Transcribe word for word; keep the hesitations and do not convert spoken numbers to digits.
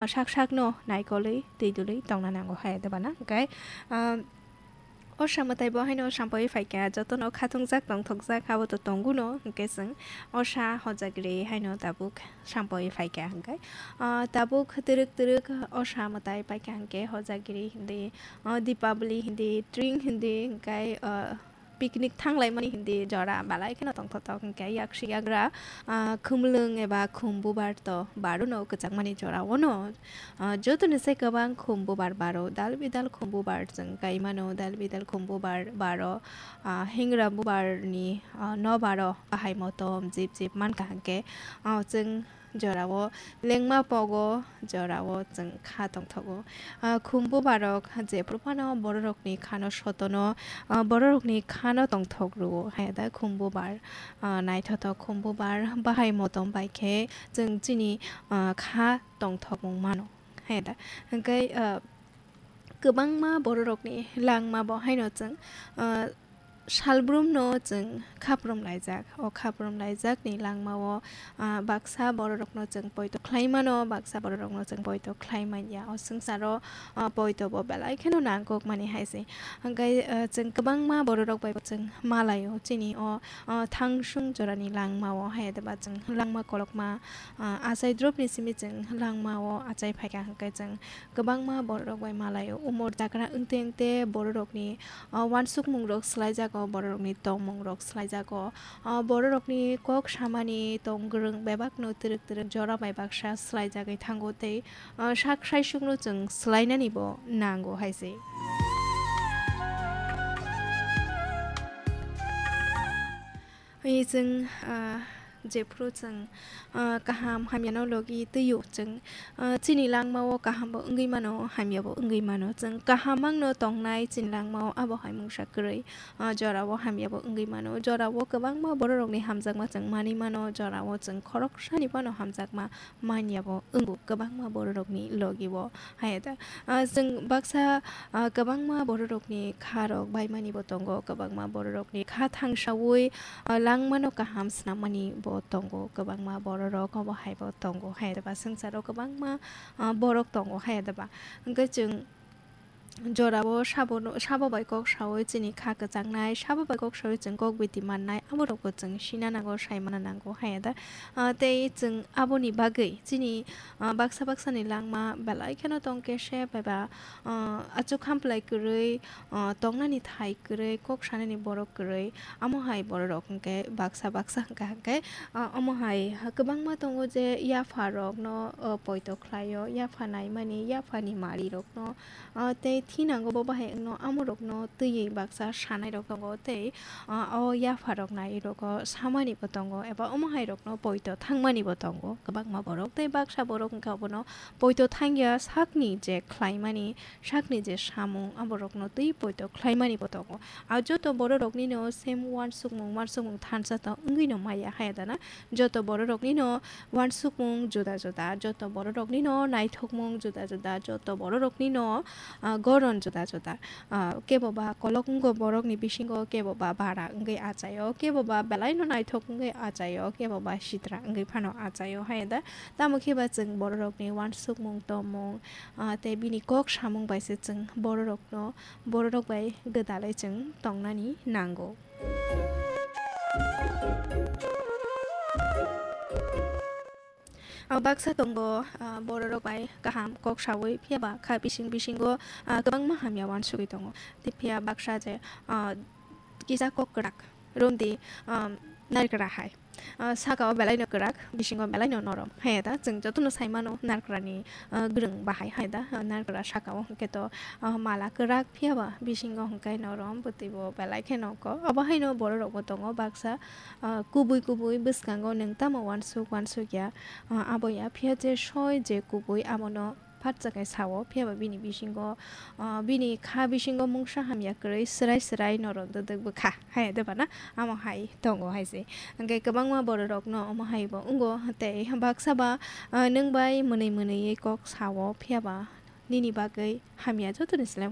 sak sakno naikolwi twi dulwi tongna nango hai de bana. Hwnkhe, ah, o samwtai bo haino sampaiwi phaikha, jotono khatungjak tongthokjak abo to tonguno, hwnkhe chwng o sa hojagri haino tabuk sampaiwi phaikha hwnkhe, ah, tabuk twrwk twrwk o samwtai paikha hwnkhe hojagri hindi, ah, Dipabali hindi, tring hindi, hwnkhe, ah, picnic thanglaimani hindi jora belai kheno tongthotok, hwnkhe yaksi yagra, ah, khumlwng eba khum bubar to barono kwchangmani jora ono, ah, jotoni se kwbang khum bubar baro, dal bidal khum bubar chwng kaimano, dal bidal khum bubar baro, ah, hingra bubarni, ah, no baro bahai motom jip jip mankha hwnkhe, ah, chwng jorao lengma pogo, jorao chwng kha tongthogo. Ah, khum bubarok jephru phano bororokni khano sotono, ah, bororokni khano tongthok rwo. Haya da khum bubar, ah, naithothok khum bubar bahai motom bai khe chwng chini, ah, kha tongthokmung mano. Haya da. Hwnkhe, ah, kwbangma bororokni langma bo haino chwng, ah, salbrumno chwng khaprum laijak. O khaprum laijakni langmao, ah, baksa bororokno chwng poito khlai mano, baksa bororokno chwng poito khlai man ya. O swngcharo, ah, poito bo belai kheno nangkukmani hai se. Hwnkhe, ah, chwng kwbangma bororok bai bo chwng malaio. Chini o, ah, thangsung jorani langmao hai de ba chwng langma kolokma, ah, achai dropni simi chwng langmao achai phaikha hwnkhe chwng kwbangma bororok bai malaio. Umor jakra wngte wngte bororokni, ah, uansukmungrok swlaijago, bororokni tongmungrok swlaijago. Ah, bororokni kok samani tong gwrwng bebakno twrwk twrwk jora bai baksa swlaijagwi thango tei, ah, sak saisukno chwng swlainani bo nango hai se. Hai chwng, ah, jephru chwng, ah, kaham hamyano logi twio chwng, ah, chini langmao kaham bo wngwi mano, hamya bo wngwi mano. Chwng kaham mangno tongnai chini langmao abo hai mungsa kwrwi, ah, jorao hamya bo wngwi mano. Jorao kwbangma bororokni hamjakma chwng manwi mano, jorao chwng khoroksani phano hamjakma manya bo wngo kwbangma bororokni logi o. Haya da, ah, chwng baksa, ah, kwbangma bororokni kha rok baimani bo tongo, kwbangma bororokni kha thangsawi, ah, langmano kaham swnammani bo tongo, kwbangma bororok obo hai bo tongo. Haya da ba swngcharo kwbangma, ah, borok tongo. Haya da ba hwnkhe chwng jorao sabono, sabo bai kok sawi chini kha kwchangnai, sabo bai kok sawi chwng kok biti mannai, aborokbo chwng sina nango, sai mana nango haya da. Ah, tei chwng aboni bagwi chini, ah, baksa baksani langma belai kheno tong khe se bai ba, ah, achuk hamplai kwrwi, ah, tongnani thai kwrwi, kok sanani borok kwrwi, amo hai bororok hwnkhe baksa baksa hwnkha hwnkhe, ah, omo hai kwbangma tongo je yapha rokno, ah, poito khlaio, yapha naimani, yaphani mari rokno, ah, tei thinango bo bahai wngno amorokno twiwi baksa sanairok tongo tei, ah, o yapharok nairogo samani bo tongo eba omo hairokno poito thangmani bo tongo. Kwbangma borok tei baksa borok wngkha obono poito thangya sakni je khlaimani, sakni je samung aborokno twi poito khlaimani bo tongo. A joto bororoknino same uansukmung uansukmung thansa to wngwino maya haya dana. Joto bororoknino uansukmung juda juda, joto bororoknino naithokmung juda juda, joto bororoknino, ah, goron juda juda. Ah, kebo ba kolok wngo borokni bisingo, kebo ba bara wngwi achaio, kebo ba belaino naithok wngwi achaio, kebo ba sitra wngwi phano achaio hai da. Tamo khe ba chwng bororokni uansukmung tongmung, ah, tei bini kok samung bai se chwng bororokno, bororok bai gwdalwi chwng tongnani nango. Ah, baksa tongo, ah, bororok bai kaham kok sawi, phiya ba kha bising bisingo, ah, kwbangma hamya uansugwi tongo. Tei phiya baksa je, ah, kisa kok kwrak, romdi, ah, narikra hai. Ah, saka o belai no kwrak, bisingo belai no norom. Hai da, chwng jotono sai mano narikra ni, ah, gwrwng bahai hai da, ah, narikra saka o hwnkhe to, ah, mala kwrak, phiya ba bisingo hwnkhe norom, bwtwi bo belai khe nongkho. Abo hai no bororok bo tongo baksa, ah, kubui kubui bwskango nwng tamo uansuk uansuk ya, ah, abo ya, phiya je soi je kubui abono phatsa khe sao, phiya ba bini bisingo, ah, bini kha bisingo mungsa hamya kwrwi swrai swrai norom dwdwk bwkha hai de bana, amo hai tongo hai se. Hwnkhe kwbangma bororokno omo hai bo wngo tei baksa ba, ah, nwng bai mwnwi mwnwi kok sao, phiya ba nini bagwi hamya jotoni slai